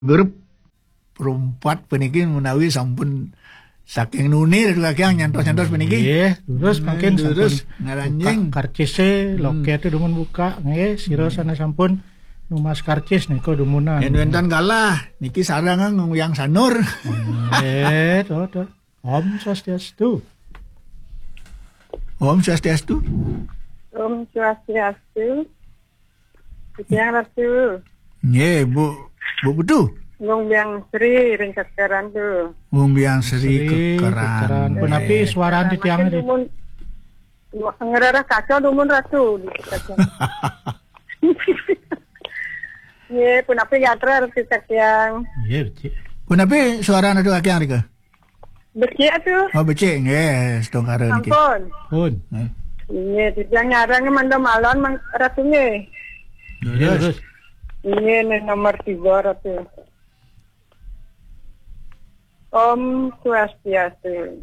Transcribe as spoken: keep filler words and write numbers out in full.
grup perempat peniki menawi sampun saking nuni Ratu Kakiang nyantos-nyantos peniki. Nggih, terus mungkin sampun terus ngaranjing buka karcise, loket itu dumun buka, nggih, sira sana sampun numas karcis nika dumunan. Yen wenten galah, niki sareng nguyang sanur. Nggih, to, to. Om Swastiastu. Om Swastiastu. Om Swastiastu. Tiang Ratu. Nggih, Bu, Bu Putu. Wong Biang Sri ring Kekeran tu. Wong Biang Sri Sri Kekeran. Kekeran. Punapi suarane tiang Makin di dumun, ngerarah kaca dumun Ratu. Nggih, punapi gatra Ratu Kakiang. Nggih, becik. Punapi suarane Ratu Kakiang rika? Becik tu. Oh, becik nggih, setungkara niki. Sampun. Pun. Nggih. Nggih, titiang nyarang manda malon Mang Ratu nggih. Nggih, terus. Nggih, ning nomor tiga Ratu. Om Swastiastu.